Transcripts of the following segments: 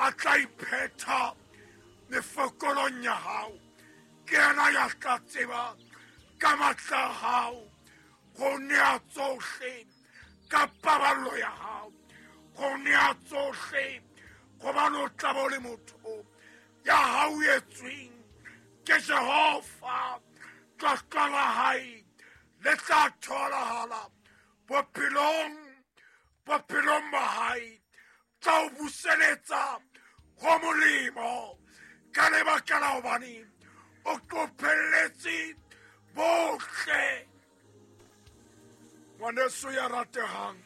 A tla iphetha mefokolong ya hao. Ke yena ya tla tseba ka matla a hao go nea tsohle ka paballo ya hao, go nea tsohle, gobane o tla bo le motho ya hauetsweng ke Jehova. Tlotlo la hae le tla tholahala bophelong, bophelong ba hae tla o buseletsa go molemo ka lebaka la hobane o qophelletse bohle. Ngwaneso ya ratehang,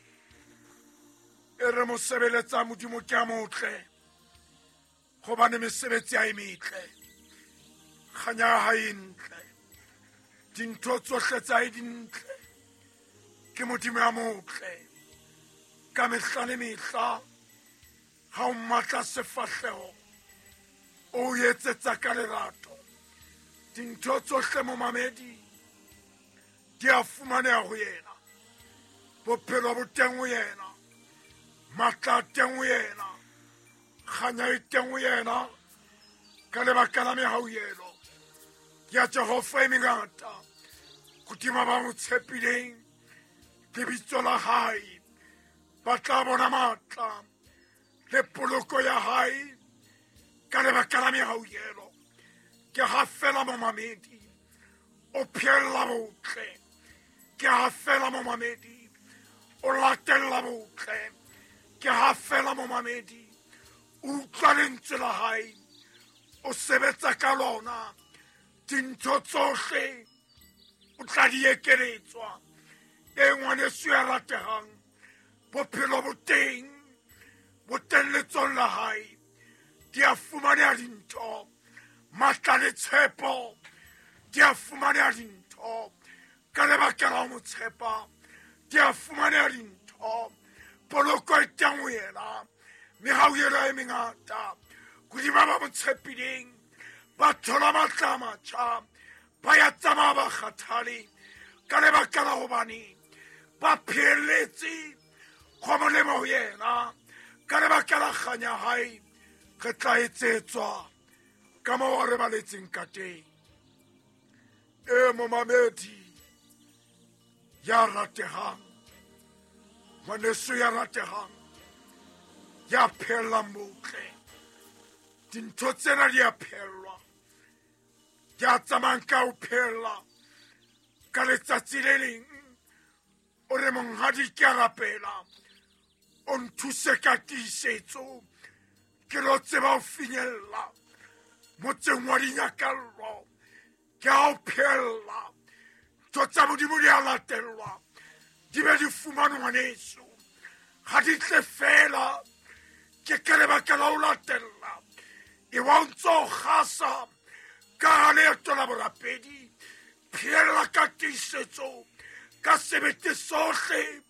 e re mosebeletsa Modimo ke a motle, gobane mesebetsi ya e metle, kganya ya hae e ntle, dintho tsohle tsa e dintle. Ke Modimo ya motle ka mehla le mehla. Ha o mmatla sefahleho, o etsetsa ka lerato. Dintho tsohle, momamedi, di a fumaneha ho yena. Bophelo bo teng ho yena, matla a teng ho yena, kganya e teng ho yena ka lebaka la mehauhelo ya Jehova e mengata hodima ba mo tshepileng lebitso la hae. Ba tla bona matla le poloko ya hae ka lebaka la mehauhelo. Ke ha fela, momamedi, o phehella botle. Ke ha fela, momamedi, o latella botle. Ke ha fela, momamedi, o utlwa lentswe la hae, o sebetsa ka lona, dintho tsohle o tla di ekeletswa. E ngwaneso ya rategang, bophelo bo teng, bo teng letsong la hae. Di a fumaneha dintho, matla le tshepo di a fumaneha dintho ka lebaka la ho mo tshepa. Di a fumaneha dintho, poloko e teng ho yena, mehauhelo e mengata hodima ba mo tshepileng. Ba thola matla a matjha, ba ya tsamaya ba kgathale ka lebaka la hobane ba phehelletse go molemo ho yena. Ka lebaka la kganya hae re tla etsetswa ka moo re baletseng ka teng. E momamedi ya rategang, ngwaneso ya rategang ya pheellang botle, dintho tsena di a phehellwa. Ya tsamayang ka ho phehella, ka letsatsi le leng o re, "Monghadi, ke a rapela o nthuse ka tiisetso ke lo tseba ho finyella motseng wa dinyakallo." Ke a o phehella, ntho tsa Modimo di a latellwa, di be di fumanwe. Ngwaneso, ga di tle fela, ke ka lebaka la ho latella. E wa o ntse o gasa ka ga leeto la borapedi, phehella ka tiisetso, ka sebete sohle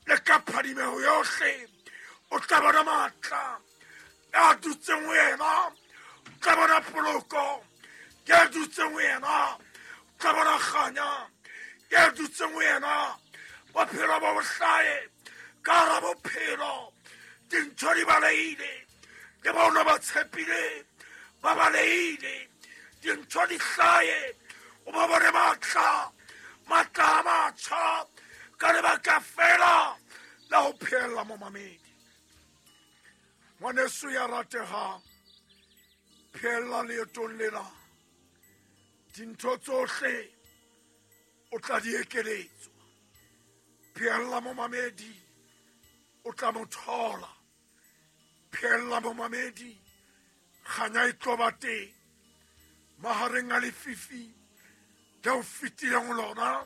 le ka phadimeho yohle, o tla bona matla a dutseng ho yena, o tla bona poloko ya dutseng ho yena, o tla bona kganya ya dutseng ho yena. Bophelo bo bohlae ka hara bophelo, dintho di balehile le bona ba tshepile, ba balehile, dintho di hlae, o ba bone matla, matla a matjha ka lebaka fela la ho phehella. Momamedi, ngwaneso ya rategang, phehella leetong lena, dintho tsohle o tla di ekeletswa. Phehella, momamedi, o tla mo thola. Phehella, momamedi, kganya e tlo ba teng mahareng a lefifi le o fetileng ho lona,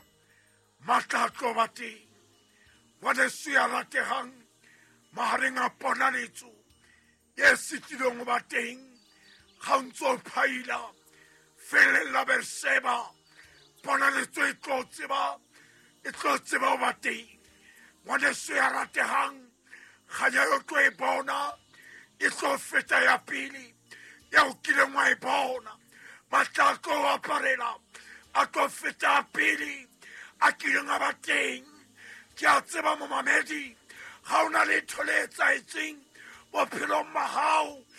matla a tlo ba teng. Ngwaneso ya rategang, mahareng a ponaletso e sitilweng ho ba teng ga o ntse o phaila feleng la Berseba, ponaletso e tlo tseba, e tlo tseba ho ba teng. Ngwaneso ya rategang, kganya yo tlo e bona e tlo feta ya pele ya o kileng wa e bona. Matla a tlo aparela a tlo feta pele a kileng a ba teng. Ke a tseba, momamedi, ga o na letho le etsahetseng bophelong ba gago.